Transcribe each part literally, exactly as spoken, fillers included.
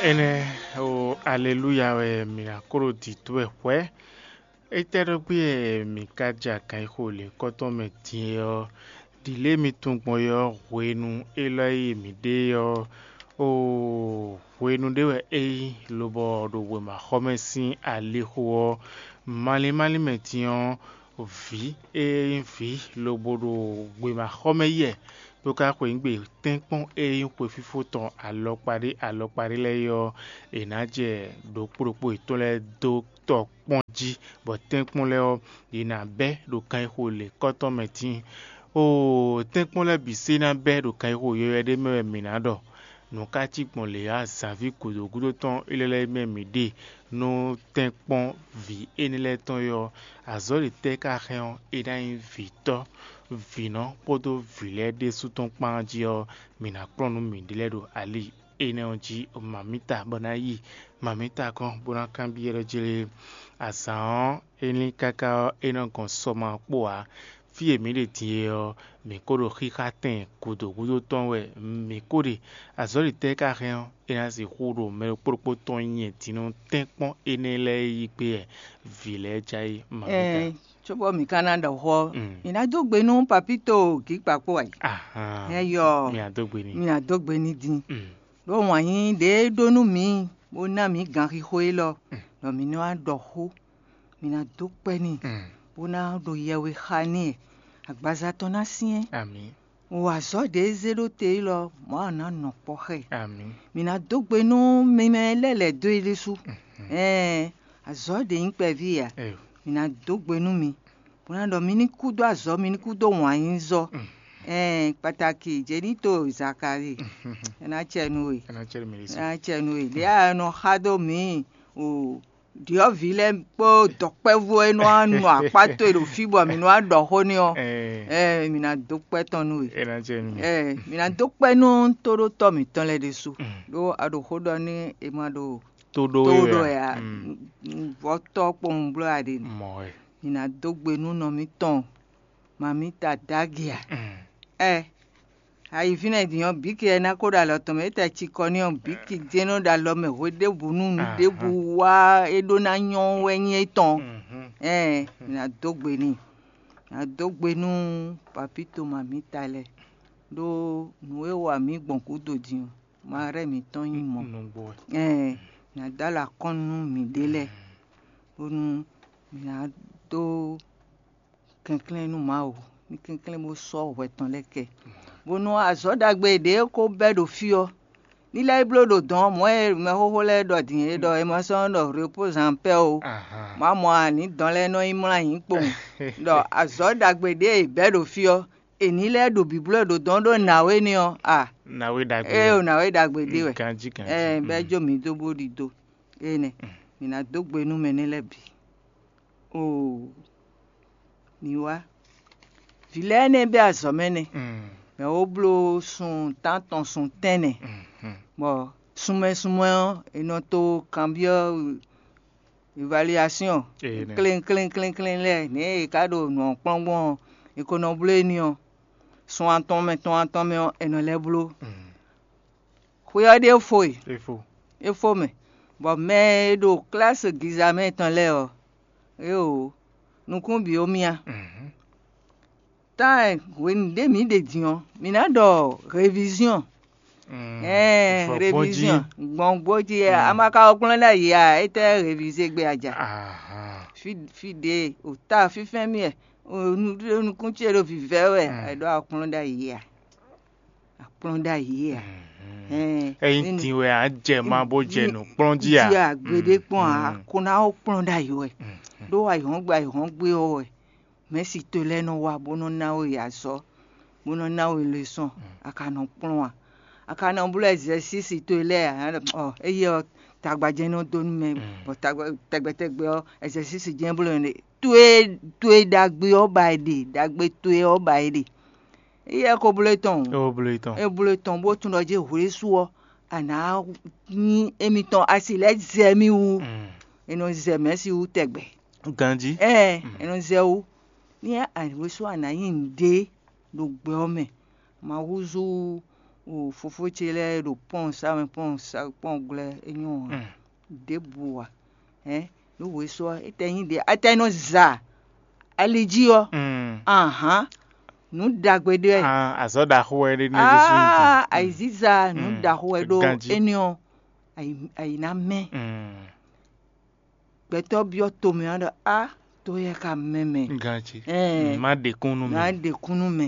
Énɛ́ ó, aleluya wɛ mǐ ná kó ɖo dǐdó wɛ hwɛ̌. Étɛ́ ɖɔ gbé wɛ mǐ ka ja ganxixo lěkɔ́tɔn mɛ din é ɔ́, ɖi lě e mi tunwun gbɔn é ɔ́, hwenu élɔ́ e mǐ ɖe é ɔ́, oo, hwenu ɖé wɛ é nyí, lobɔ ɖo wěmaxɔmɛ sín alixo ɔ́, malín málín mɛ din ɔ́, vǐ e nyí vǐ lobo ɖo wěmaxɔmɛ yi wɛ, bó ka xweyǐgbe tɛ́nkpɔ́n e nyí xwefífó tɔn alɔkpa ɖé alɔkpa ɖé lɛ́ɛ é ɔ́, è nǎ jɛ ɖokpó ɖokpó yětɔn lɛ́ɛ dó tɔ kpɔ́n jí, bɔ tɛ́nkpɔ́n lɛ́ɛ ɔ́, yě ná bɛ́ ɖo ganxixo lěkɔ́tɔn mɛ dín. Oo, tɛ́nkpɔ́n lɛ́ɛ bǐ se ná bɛ́ ɖo ganxixo yɔywɛ ɖé mɛ wɛ mǐ ná ɖɔ. Nǔ ka cí gbɔn lě azǎnví gǔdo gúdo tɔn élɔ́ lɛ́ɛ mɛ mǐ ɖe nú tɛ́nkpɔ́n vǐ énɛ́ lɛ́ɛ tɔn é ɔ́, azɔ̌ ɖě tɛ́ ka hɛn ɔ́, é ná nyí vǐtɔ́, vǐnɔ kpódó vǐ lɛ́ɛ ɖésú tɔn kpán jí ɔ́, mǐ ná kplɔ́n nú mǐɖée lɛ́ɛ ɖo ali énɛ́ ɔ́ jí. Mamǐta bɔ ná yi mamǐta gɔ́n bó ná kanbyɔ́ ɖɔ jlé. Azǎn ɔ́, é lín káká ɔ́, é nɔ gɔn sɔ ma kpó ǎ. Fí e mǐ ɖe din é ɔ́, mǐ kó ɖo xíxá tɛn gǔdo gúdo tɔn wɛ mǐ kó ɖe. Azɔ̌ ɖě tɛ́ ka hɛn ɔ́, é ná sixú ɖo mɛ ɖokpó ɖokpó tɔn nyɛ din nú tɛ́nkpɔ́n énɛ́ lɛ́ɛ yí gbé wɛ vǐ lɛ́ɛ já yí ma mǐ Ɛɛ, tɔbɔ mǐ ka ná ɖɔ xó ɔ́, Mm. mǐ ná dó gbe nú Papíto Gǐkpakpó ǎ. Ahan. Hɛn yɔ, Mǐ ná dó gbe n'i. mǐ ná dó gbe n'i din. Mm. Ɖó wǎn yíyí ɖě e ɖó nú mǐ, bó ná mǐ ganxixo élɔ́, ɖɔ mǐ ní wá ɖɔ xó, mǐ ná dó kpɛ́ n'i, Mm. bó ná ɖo yɛwe xa n'i, agbaza tɔn ná syɛ́n. Amǐ. Wǎ zɔ́ ɖě e zé ɖó te élɔ́, Mawu ná nɔ kpɔ́ xá ɛ. Amǐ. Mǐ ná dó gbe nú mi mɛ lɛ́ lɛ̌ dó é ɖésú. Ɛɛn, azɔ̌ ɖě nyí kpɛví ǎ. Eyo. Mǐ ná dó gbe nú mi, bó ná ɖɔ mi ní kú dó azɔ̌, mi ní kú dó wǎn yíyí zɔ́. Ɛɛn, kpataki Jenito Zakalíi, é ná cɛ nú we. É ná cɛ nú mi ɖésú. É ná cɛ nú we. Ɖě a nɔ xá dó mǐ o, ɖyɔ̌vǐ lɛ́ɛ kpó dɔ̌nkpɛvú e nɔ wá nɔ akpá towe ɖo fí bɔ mǐ nɔ wá ɖɔ xó n'i ɔ́, Ɛɛ. ɛɛ, mǐ ná dó kpɛ́ tɔn nú we. É ná cɛ nú mi. Ɛɛ, mǐ ná dó kpɛ́ nú tóɖótɔ́ mǐtɔn lɛ́ɛ ɖésú. Mm. Ɖó a ɖo xó ɖɔ nú è ma ɖo Tó ɖó tó we ɖɔ wɛ ɛ a? Mm. Vɔ̌tɔ́ kpowun bló a ɖe nɛ. Mɔ wɛ. Mǐ ná dó gbe nú nɔ mǐtɔn, mamǐta Dagia. Mm. Ɛ, ayi fínɛ́ din ɔ́, bǐ ke ɛ ná ko ɖo alɔ tɔn mɛ, é tɛ cikɔ n'i ɔ́, bǐ ki jɛ́n nɔ ɖo alɔ mɛ hwe ɖěbǔ nú nǔ Aha. ɖěbǔ wá é ɖó ná nyɔ́ wɛ nyí étɔn. Mhm. Ɛɛ, mǐ ná dó gbe n'i. Mǐ ná dó gbe nú papíto mamǐta lɛ́ɛ, ɖó nǔ e wa mǐ gbɔn gǔdo din ɔ́, ma rɛ́ mǐtɔn nyí mɔ̌. Nǔgbó wɛ. Ɛɛ, mǐ ná dó alɔ akɔ́nnu nú mǐɖée lɛ́ɛ, bónú mǐ ná dó kɛnklɛ́n nú Mawu, ní kɛnklɛ́n bó sɔ́ hwɛ tɔn lɛ́ɛ kɛ, bónú azɔ̌ ɖagbe e ɖě ko bɛ́ ɖo fí ɔ́, ní lɛ́ yi bló ɖo dɔ̌n ɔ́, mɔ̌ e mɛxóxó lɛ́ɛ ɖɔ din é ɖɔ è ma sɔ́ nɔ ɖɔ repose en paix o. Ahan. Má mɔ ǎ, ní dɔn lɛ́ɛ nɔ yi mlɔ́ ayǐ kpowun, ɖɔ azɔ̌ ɖagbe ɖě e è bɛ́ ɖo fí ɔ́, è ní lɛ́ ɖo bǐbló ɖo dɔ̌n ɖó nǎwe ní ɔ́, a Nǎwe ɖagbe. Ée o, nǎwe ɖagbe ɖé wɛ. Ganjí ganjí. Ɛɛ, bɛ́ jó mǐ dó bó ɖidó. Énɛ́, mǐ ná dó gbe nú mɛ nɛ́ lɛ́ɛ bǐ. Oo, ní wá. Vǐ lɛ́ɛ nɛ́ bɛ́ azɔ̌ mɛ nɛ́. Mm. Mɛ wo bló sun tántɔn sun tɛ́nnɛ, Mm. bɔ sunmɛ sunmɛ ɔ́, è nɔ to kanbyɔ́ évaluation Ee, nɛ. klin klin klin klin lɛ́ɛ, nɛ̌ è ka ɖo nǔ ɔ́ kplɔ́n gbɔn ɔ́, è ko nɔ bló e n'i ɔ́, sun atɔn mɛ tɔn atɔn mɛ ɔ́, è nɔ lɛ́ bló. Mm. Xwe ɔ́ ɖíe fo e, É fó. é fó mɛ, bɔ mɛ e ɖo klásí giza mɛ tɔn lɛ́ɛ ɔ́, éeǒ, nukún bǐ ó myá. Mhm. Tán hwenu ɖě mǐ ɖe din ɔ́, mǐ ná ɖɔ réviziɔn. Mm, Ɛɛ, vɔ gbɔn jí. Réviziɔn gbɔn gbó jí, Mm. a ma ka wɔ kplɔ́n ɖ'ayǐ a, étɛ́ révize gbé a ja? Ahan. Fí fí ɖě o ta fínfɛ́n mì wɛ, o nu ɖó nukún ce ɖo vǐvɛ́ wɛ, Mm. a ɖó a kplɔ́n ɖ'ayǐ a? A kplɔ́n ɖ'ayǐ a? Mhm. Ɛɛ, Eyin din wɛ a jɛ ma bó jɛ nǔ kplɔ́n jí a? Jí a gbeɖé kpɔn a, Mm. ko ná wɔ kplɔ́n ɖ'ayǐ wɛ. Mm. Ɖó ayǐhɔ́ngbe ayǐhɔ́ngbe ɔ́ wɛ mɛ̌si towe lɛ́ɛ nɔ wá bó nɔ́ ná we azɔ̌, bó nɔ́ ná we lesɔ́n, a ka nɔ kplɔ́n a? A ka nɔ bló ɛzɛsísi towe lɛ́ɛ ǎ? Ɔ, éyɛ́ ɔ́, tagba jɛ́n nɔ dó nú mɛ, Mm. bɔ tagba tɛgbɛ tɛgbɛ ɔ́, ɛzɛsísi jɛ́n bló nɛ́. Towe towe ɖagbe ɔ́ ba è ɖe, ɖagbe towe ɔ́ ba è ɖe. Éyɛ́ ko bló tɔn o. É ko bló tɔn. É bló tɔn bó tunwun ɖɔ jɛ́n hwesú ɔ́, a nǎ nyí émítɔn, a si lɛ́ zɛ mì wú. Mm. È nɔ zɛ mɛ̌si wú tɛgbɛ. Ganjí. Ɛɛ, Mm. è nɔ zɛ wú. Ní a wesú a nǎ nyí nǔɖé ɖo gbɛ ɔ́ mɛ, ma húzú O fofó ce lɛ́ɛ ɖo pɔ́n sa mɛ pɔ́n sa pɔ́n glɛ́ é nyɔ́ ǎ. Ɖěbǔ ǎ. Hɛn nǔ wěsu ɔ́, étɛ́ nyí ɖě étɛ́ nɔ za ali jí ɔ́? Ahán, nǔ ɖagbe ɖé wɛ. Azɔ̌ ɖaxó wɛ ɖé ní é ɖésú nyí. Aa, ayǐziza nǔ ɖaxó wɛ ɖó énɛ́ ɔ́, ayi ná mɛ. Gbɛtɔ́ byɔ́ tomɛ ɔ́ ɖɔ á, to yɛ ka mɛ mɛ. Ganjí. Má ɖe kún nú mɛ. Má ɖe kún nú mɛ.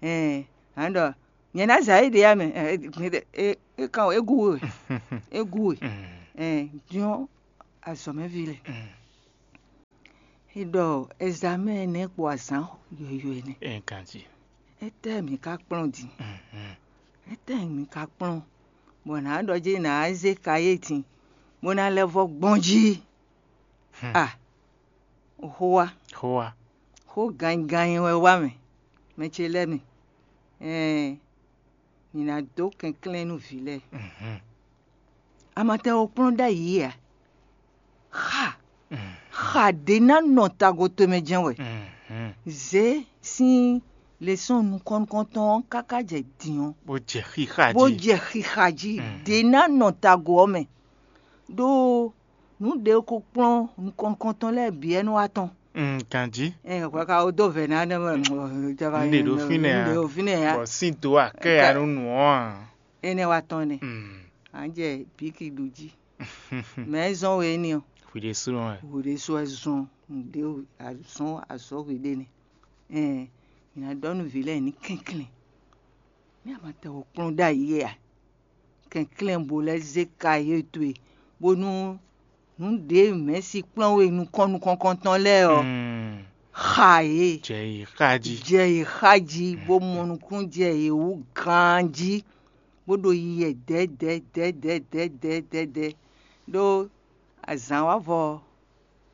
Ɛn, á ɖɔ nyɛ ná zǎ éɖée ya mɛ. É kan é gú we. É gú we. Ɛn, diɔ́n azɔ̌mɛví lɛ́ɛ. É ɖɔ ɛzamɛ́ nɛ́ kpo azǎn yɔ̌yɔ́ nɛ́. Ɛn, ganjí. Étɛ́ mǐ ka kplɔ́n din? Étɛ́ mǐ ka kplɔ́n? Bɔ nǎ ɖɔ jí nǎ zé kayé din, bó ná lɛ́ vɔ́ gbɔn jí. A, xó wá. Xó wá. Xó ganyiganyi wɛ wá mɛ, mɛ ce lɛ́ɛ mi. Ɛɛ, mǐ ná dó kɛnklɛ́n nú vǐ lɛ́ɛ. Amatɛ ɔ́ kplɔ́n ɖ'ayǐ ǎ. Xa xa ɖě ná nɔ tago tomɛ jɛ́n wɛ. Zě sín lesɔ́n nukɔn nukɔntɔn ɔ́ káká jɛ din ɔ́, bó jɛ xixa bó jí. Jɛ xixa jí. Ɖě ná nɔ tago ɔ́ mɛ. Ɖó nǔ ɖě ko kplɔ́n nukɔn nukɔntɔn lɛ́ɛ bǐ wɛ nɔ wá tɔn. Mm, ganjí. Ɛ hwɛ ka wo dó vɛ̌ ná nɛ mɛ. N ɖe ɖo fínɛ́ ǎ. N ɖe ɖo fínɛ́ ǎ. Bɔ sín dó akɛ ya nú nǔ ɔ́ ǎ. Énɛ́ wá tɔn nɛ. Mm. À ń jẹ bíkì ɖu jí. Mɛ zɔn we ní ɔ. Hwi ɖésúnɔ wɛ. Hwi ɖésú wɛ zɔn nǔɖé azɔn azɔn hwi ɖé nɛ. Ɛn, mǐ ná ɖɔ nú vǐ lɛ́ɛ ní kɛnklɛ́n. Ní a ma tɛ wɔ kplɔ́n ɖ'ayǐ a? Kɛnklɛ́n bo lɛ́ zé ka yě towe, bónú nǔ ɖě mɛ̌si kplɔ́n we nukɔn nukɔntɔn lɛ́ɛ ɔ́, xa yě. Jɛ yě xa jí. Jɛ yě xa jí, bó mɔ nukúnnú jɛ yě wú ganjí, bó ɖo yiyi wɛ dɛ̌dɛ̌ dɛ̌dɛ̌ dɛ̌dɛ̌ dɛ̌dɛ̌. Ɖó azǎn wá vɔ ɔ́,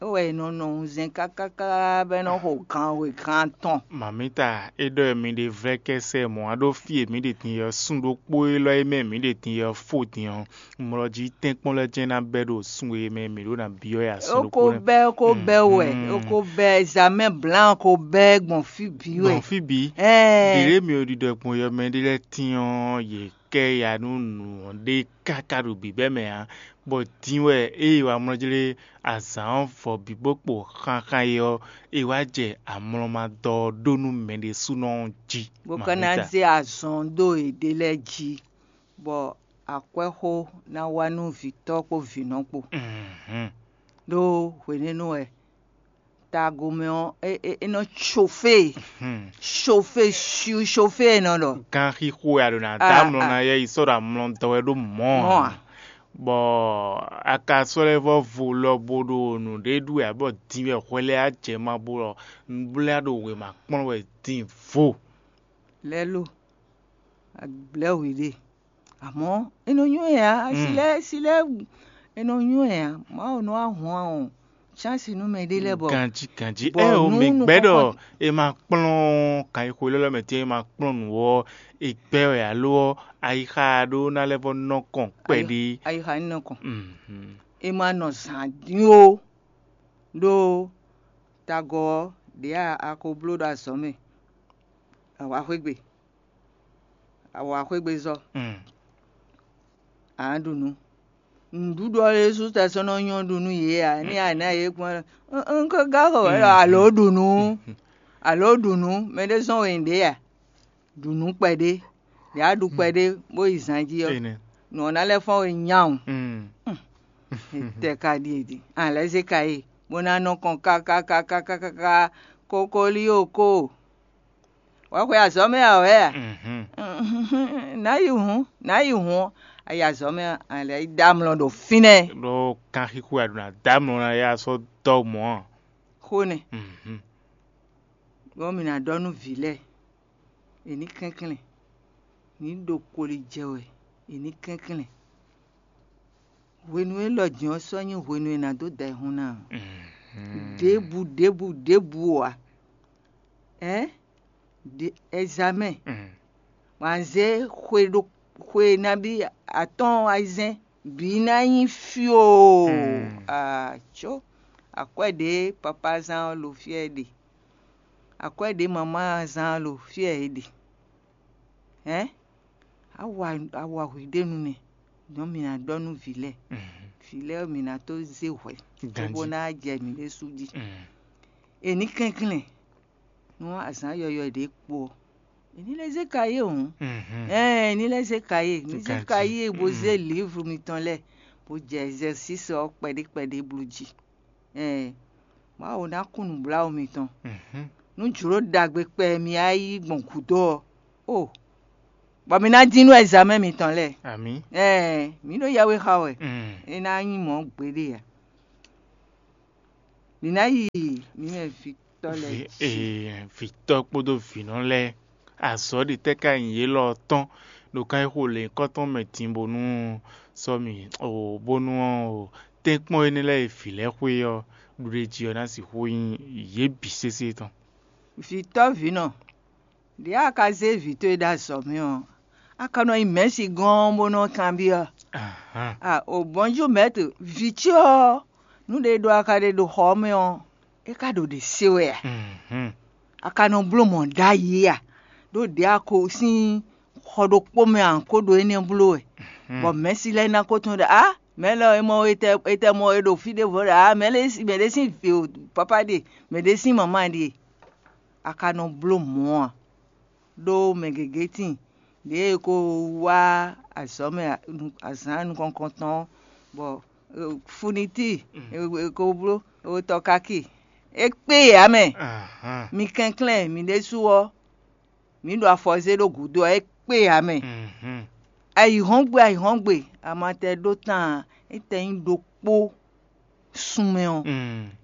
é wɛ è nɔ nɔ wunzɛn kákáká bɔ é nɔ xo gan we gan atɔn. Mamita, é ɖɔ mi ɖe vlɛ́kɛ́sɛ mɔ̌ a ɖó fí e mǐ ɖe din ɔ́, sun ɖokpó élɔ́ e mɛ mǐ ɖe din ɔ́ fó din ɔ́, mlɔ jí tɛ́nkpɔ́n lɛ́ɛ jɛ́n ná bɛ́ ɖo sun e mɛ mǐ ɖó ná byɔ́ ɛ ǎ. Sun É ko ɖokpó lɛ́ɛ. Bɛ́, é ko bɛ́ wɛ, é ko bɛ́, zamɛ blǎn ko bɛ́ gbɔn fí bǐ wɛ. Gbɔn fí bǐ. Ɛɛ. Ɖěɖě mi ò ɖiɖɔ gbɔn yɔmɛ ɖé lɛ́ɛ tín ɔ́, yě kɛ ya nú nǔ ɔ́ ɖe káká ɖo bǐbɛ́ mɛ ǎ, bɔ din wɛ ée wamlɔ́jlé azǎn ɔ́ vɔ bǐ bó kpo xanxan é ɔ́, è wá jɛ amlɔmadɔ ɔ́ ɖó nú mɛ ɖésúnɔ ɔ́ jí. Bó ka ná zé azɔn dó yěɖée lɛ́ɛ jí, bɔ akwɛ́xó ná wá nú vǐtɔ́ kpó vǐnɔ kpó. Ɖó hwenɛ́nu wɛ tago mɛ ɔ́, é nɔ cofé, cofé, cofé e nɔ ɖɔ. Ganxixo wɛ a ɖo ná dó amlɔ ná yɛ yi sɔ́ ɖo amlɔ dɔ wɛ ɖó mɔ̌ ǎ. Bɔ a ka sɔ́ lɛ́ vɔ́ vo lɔ bo ɖo nǔɖé ɖu wɛ ǎ, bɔ din wɛ hwɛ lɛ́ɛ á jɛ ma bo ɖɔ nǔbléa ɖo wěma kplɔ́n wɛ din vo. Lɛ́ lo, a blɛ́ hwi ɖe. Amɔ̌ é nɔ nywɛ́ ǎ, asi lɛ́ɛ asi lɛ́ɛ é nɔ nywɛ́ ǎ. Mawu nɔ wá hɔn ɔ́, chance nú mɛ ɖé lɛ́ɛ bɔ Ganjí ganjí. Bɔ Ɛ o, nú mǐ gbɛ́ ɖɔ nukɔn- è ma kplɔ́n kan e xwe lɔ́lɔ́ mɛ tɛ́n è ma kplɔ́n nǔ ɔ́, è gbɛ́ wɛ alo ɔ́, ayixa ɖó ná lɛ́ vɔ́ nɔ kɔn kpɛɖé. Ayixa ní nɔ kɔn. Mhm. È ma nɔ zǎn dín ó, ɖó tagɔ ɔ́ ɖě a ko bló ɖo azɔ̌ mɛ. Awǎ xwé gbe. Awǎ xwé gbe zɔ. Mm. Ǎ ɖu nǔ. Nǔɖuɖu ɔ́ ɖésú tɛ sɔ́ nɔ nyɔ́ ɖu nú yě ǎ. Ní a nǎ yě kpɔ́n ɖɔ, "Un- un ko gá xo wɛ ɖɔ alo ɖu nǔ, alo ɖu nǔ, mɛ ɖé zɔ́n we nyǐɖé a?" Ɖu nǔ kpɛɖé, yǎ ɖu kpɛɖé bó yi zan jí ɔ́, Énɛ́. Nǔ ɔ́ ná lɛ́ fɔ́n we nyawun. Mm. Tɛ ka ɖíe din, a lɛ́ zé ka yi, bó ná nɔ kɔn kákákákákáká, kokolío ko. Wǎ xwe azɔ̌ mɛ ǎ wɛ a? Mhm. Nǎ yi hǔn, nǎ yi hǔn ɔ́, a yi azɔ̌ mɛ ɔ́, a lɛ́ yi dó amlɔ ɖo fínɛ́. Ɖó kanxixo a ɖo ná dó amlɔ ná ya sɔ́ dɔ́ mɔ̌ a? Xó nɛ́. Mhm. Bɔ mǐ ná ɖɔ nú vǐ lɛ́ɛ, è ní kɛnklɛ́n, ní ɖo koli jɛ wɛ, è ní kɛnklɛ́n. Hwenu élɔ́ din ɔ́ sɔ́ nyí hwenu e è nǎ dó da ayihún ná ǎ. Mhm. Ɖěbǔ ɖěbǔ ɖěbǔ ǎ. Ɛ̌? Ɖe- Ɛzamɛ. Mm. Wǎn zé xwe ɖo xwe nabí atɔ́ɔ́n ayizɛ́n bǐ ná nyí fyoo. Mm. Aco, akwɛ́ ɖě papá zán ɔ́ lo fyɛ́ é ɖe. Akwɛ́ ɖě mamá zán ɔ́ lo fyɛ́ é ɖe. Ɛ̌? Awa awa hwǐɖénu nɛ́, nyɔ̌ mǐ ná ɖɔ nú vǐ lɛ́ɛ. Vǐ lɛ́ɛ mǐ ná tó zé hwɛ̌ cóbó ná jɛ mǐ ɖésú jí. È ní kɛnklɛ́n nú azǎn yɔyɔ̌ ɖě kpo ɔ́, è ní lɛ́ zé kayé hǔn. Ɛɛn, è ní lɛ́ zé kayé, ní zé kayé bó zé lǐvlu mitɔn lɛ́ɛ, bó jɛ ɛzɛsísi ɔ́ kpɛɖé kpɛɖé bló jí. Ɛɛn, Mawu ná kún nǔbláwǔ mitɔn. Nú jlǒ ɖagbe kpɛ e mi wá yí gbɔn gǔdo ɔ́, o, bɔ mi ná dín nú ɛzamɛ mitɔn lɛ́ɛ. Amǐ. Ɛɛn, mǐ ɖo yɛwe xa wɛ. Mm. É ná nyí mɔ̌ gbeɖé ǎ. Mǐ ná yi mǐ mɛ vǐtɔ́ lɛ́ɛ Vǐ- jí. Ee, vǐtɔ́ kpódó vǐnɔ lɛ́ɛ, azɔ̌ ɖě tɛ́ ka nyí yě lɔ ɔ́ tɔn ɖo kan e xo lěhunkɔtɔn mɛ din bónú sɔ́ mì o bónú ɔ́ o tɛ́nkpɔ́n énɛ́ lɛ́ɛ e vǐ lɛ́ɛ xwe ɔ́ ɖuɖéjí ɔ́ ná sixú nyí yě bǐ sésé tɔn. Vǐtɔ́ vǐnɔ, ɖě a ka zé vǐ towe ɖó azɔ̌ mɛ ɔ́, a ka nɔ yi mɛ̌si gɔ́n bó nɔ́ kanbyɔ́? Ahán. A o bɔnjú mɛ̌tr, vǐ ce ɔ́, nú ɖé ɖó a ka ɖe ɖo xɔ ɔ́ mɛ ɔ́, é ka ɖo ɖě se wɛ a? Mhm. A ka nɔ bló mɔ̌ ɖ'ayǐ a? Ɖó ɖě a ko sín xɔ ɖokpó mɛ a ko ɖo énɛ́ bló wɛ, bɔ mɛ̌si lɛ́ɛ ná ko tunwun ɖɔ a mɛ̌ lɔ e mɔ etɛ etɛ mɔ e ɖo fí ɖěvo ɖɔ a mɛ̌ lɛ́ɛ mɛ ɖé sín vǐ o papa ɖe, mɛ ɖé sín mama ɖe. A ka nɔ bló mɔ̌ a? Ɖó mɛ gěgé tíin ɖěe è ko wá azɔ̌ mɛ azǎn nukɔntɔn ɔ́, bɔ funitíi è ko bló tɔkaki, é kpé yě ǎ mɛ. Mi kɛnklɛ́n mi ɖésú ɔ́, mǐ ɖo afɔ zé ɖó gǔdo ɔ́, é kpé yě ǎ mɛ. Ayǐhɔ́ngbe ayǐhɔ́ngbe, amatɛ ɖó tán ǎ, é tɛ nyí ɖokpó sun mɛ ɔ́,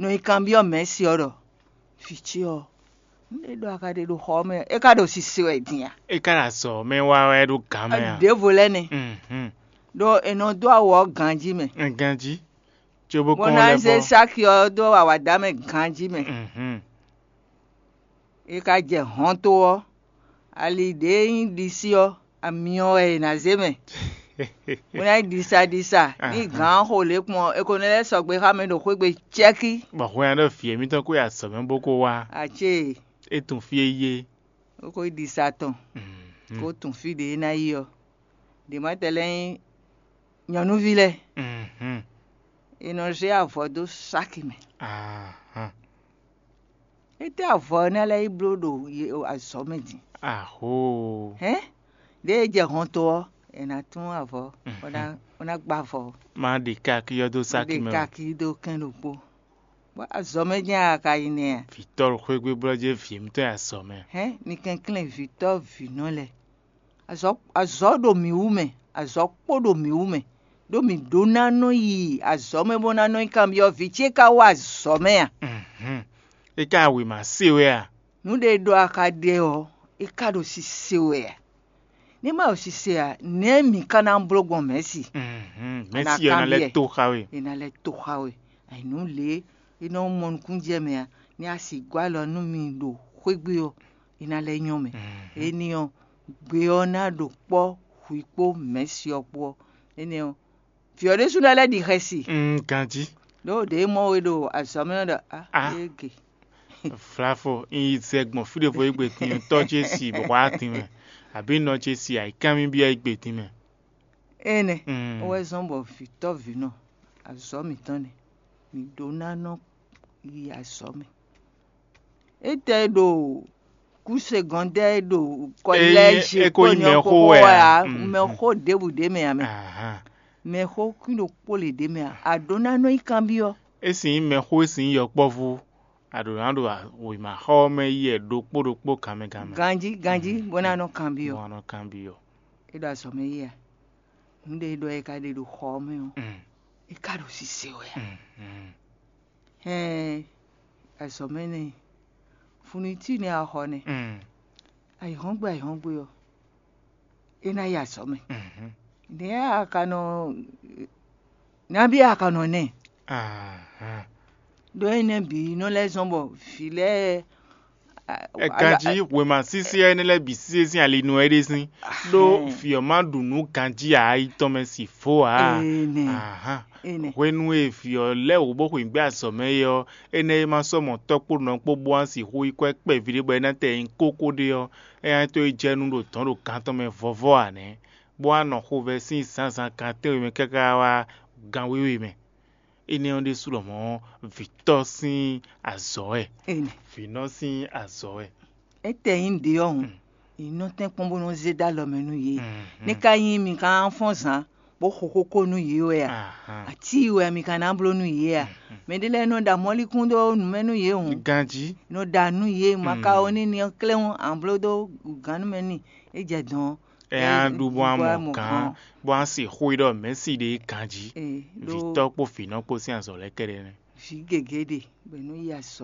nɔ yi kanbyɔ́ mɛ̌si ɔ́ ɖɔ: "Vǐ ce ɔ́, nǔɖé ɖɔ a ka ɖe ɖo xɔ ɔ́ mɛ, é ka ɖo sise wɛ din a?" É ka ɖo azɔ̌ mɛ wá wɛ ɖo gǎn mɛ a? Ɖěvo lɛ́ɛ nɛ́, ɖó è nɔ dó awu ɔ́ ganjí mɛ, Ganjí. Cóbó bó kɔn ná lɛ́ zé bɔ. Sáki ɔ́ dó awǎdá mɛ ganjí mɛ. É ka jɛ hɔnto ɔ́, ali ɖě nyí ɖisí ɔ́, amyɔ wɛ è nǎ zé mɛ. Bó ná nyí ɖisaɖisa, ní gǎn xo lě kpɔn ɔ́, è ko nɔ lɛ́ sɔgbe xá mɛ ɖo xwé gbe cɛ́kí. Bɔ hwɛ ɔ́ ɖɔ vǐ émítɔn kó yi azɔ̌ mɛ bó kó wá. Acé, É tunwun fí e yí é. Ó ko yi ɖisa tɔn, kó tunwun fí ɖě é ná yi ɔ́. Ɖě ma tɛ lɛ́ɛ nyí nyɔ̌nuví lɛ́ɛ, è nɔ zé avɔ dó sáki mɛ. Étɛ́ avɔ ɔ́ ná lɛ́ yi bló ɖo azɔ̌ mɛ din? Ahoo. Hɛ̌n, ɖěe jɛ hɔnto ɔ́, è nǎ tún avɔ, bó ná bó ná gbá avɔ. Má ɖe káki ɔ́ dó sáki mɛ. Ɖe káki dó kɛn ɖokpó. Bɔ azɔ̌ mɛ jɛ́n a ka yi nɛ́ a? Vǐtɔ́ xwégbé blɔ́ jɛ́n vǐ émítɔn yi azɔ̌ mɛ. Hɛ̌n, mi kɛnklɛ́n vǐtɔ́ vǐnɔ lɛ́ɛ. Azɔ̌ azɔ̌ ɖo mǐ wú mɛ, azɔ̌ kpó ɖo mǐ wú mɛ, ɖó mǐ ɖó ná nɔ yi azɔ̌ mɛ bó ná nɔ yi kanbyɔ́ vǐ ce ka wá azɔ̌ mɛ a? É ka wěma se wɛ a? Nǔɖé ɖɔ a ka ɖe ɔ́, é ka ɖo sise wɛ a? Ní ma ɖo sise a, nɛ̌ mǐ ka ná bló gbɔn mɛ̌si? Mɛ̌si ɔ́ ná lɛ́ to xá we. È nǎ lɛ́ to xá we. Ayǐnú lě é nɔ mɔ nukúnnú jɛ mɛ a, ní a sixú gɔ́ alɔ nú mi ɖo xwé gbe ɔ́, é ná lɛ́ nyɔ́ mɛ. Énɛ́ ɔ́, gbe ɔ́ ná ɖo kpɔ́ hwi kpó mɛ̌si ɔ́ kpó ɔ́, énɛ́ ɔ́, vǐ ɔ́ ɖésú ná lɛ́ ɖi xɛsi. Ganjí. Ɖó ɖě mɔ we ɖo azɔ̌ mɛ ɔ́ ɖɔ a Ah. Ége. Vlavo, un yi zɛ gbɔn fí ɖěvo égbé din ɔ́, tɔ́ ce si bɔ wá din mɛ, abǐ nɔ ce si ayǐkánmí byɔ́ égbé din mɛ. Énɛ́ Mm. wɛ zɔ́n bɔ vǐtɔ́ vǐnɔ azɔ̌ mǐtɔn nɛ́, mǐ ɖó ná nɔ yi azɔ̌ mɛ. Étɛ́ ɖo kúse gɔndɛ́ ɖo Ényí kɔlɛ́zi é ko nyí kpɔ́nyɔ mɛxó kpókpó wɛ wɛ a? Ǎ, Mm. mɛxó ɖěbǔ ɖě mɛ ǎ mɛ. Ahán. Mɛxó kwín ɖokpó lě ɖě mɛ ǎ. A ɖǒ ná nɔ yi kanbyɔ́. É sin nyí mɛxó, é sin nyí yɔkpɔ́vú, a ɖǒ ná ɖo wěmaxɔ ɔ́ mɛ yi wɛ ɖokpó ɖokpó ganmɛ ganmɛ. Ganjí ganjí Mm. bó ná nɔ kanbyɔ́. Bó ná nɔ kanbyɔ́. É ɖo azɔ̌ mɛ yi a? Nǔɖé e ɖɔ é ka ɖe ɖo xɔ ɔ́ mɛ ɔ́, Mm. é ka ɖo sise wɛ a? Mm. Mm. Hɛn, azɔ̌ mɛ nɛ́, funutí nɛ́ a xɔ nɛ́, Mm. ayǐhɔ́ngbe ayǐhɔ́ngbe ɔ́, é ná yi azɔ̌ mɛ. Mhm. Nɛ̌ a ka nɔ, nabí a ka nɔ nɛ́? Ahán. Ɖó énɛ́ bǐ nɔ lɛ́ zɔ́n bɔ vǐ lɛ́ɛ Ɛ ganjí wěma sísí ɔ́ énɛ́ lɛ́ɛ bǐ sísí sín ali nú ɛ ɖésín, ɖó Ahɛn. Vǐ ɔ́ má ɖu nǔ ganjí ǎ yi tɔn mɛ si vo ǎ. Énɛ́. Ahán. Énɛ́. Hwenu e vǐ ɔ́ lɛ́ wǔ bó xweyǐgbe azɔ̌ mɛ é ɔ́, énɛ́ e ma sɔ́ mɔ tɔ́ kpó nɔ kpó bó wá sixú yi kwɛ́ kpɛví ɖé bɔ é ná tɛ nyi kókó ɖé ɔ́, é ná to yi jɛ nú ɖo dɔ̌n ɖo gán tɔn mɛ vɔvɔ ǎ nɛ́. bó wá nɔ xovɛ́ sín zǎnzǎn kan tɛ́nwe mɛ káká wá gan wěwe mɛ. Énɛ́ ɔ́ ɖésú lɔmɔ̌ vǐtɔ́ sín azɔ̌ wɛ, vǐnɔ sín azɔ̌ wɛ. Étɛ́ nyí ɖě ɔ́ hǔn, yě nɔ tɛ́nkpɔ́n bó nɔ́ zé dó alɔ mɛ nú yě. Ní ka nyí mi ka ná fɔ́n zǎn bó xo xóxó nú yě wɛ a? Atíi wɛ mi ka ná bló nú yě a? Mɛ ɖé lɛ́ɛ nɔ ɖa mɔ̌likún dó nǔ mɛ nú yě hǔn, ganjí nɔ ɖa nú yě, makaoni ní ɔ́ klɛ́n ɔ́, a nǎ bló dó gǎn nú mɛ n'i. É jɛ dɔ̌n. Ɛ á ɖu bó á mɔ gǎn, bó á se xó e ɖɔ mɛ̌si ɖe ganjí. Vǐtɔ́ kpó vǐnɔ kpó sín azɔ̌ lɛ́ɛ kɛ́ɖɛ́ nɛ́. Vǐ gěgé ɖe bɔ è nɔ yi azɔ̌.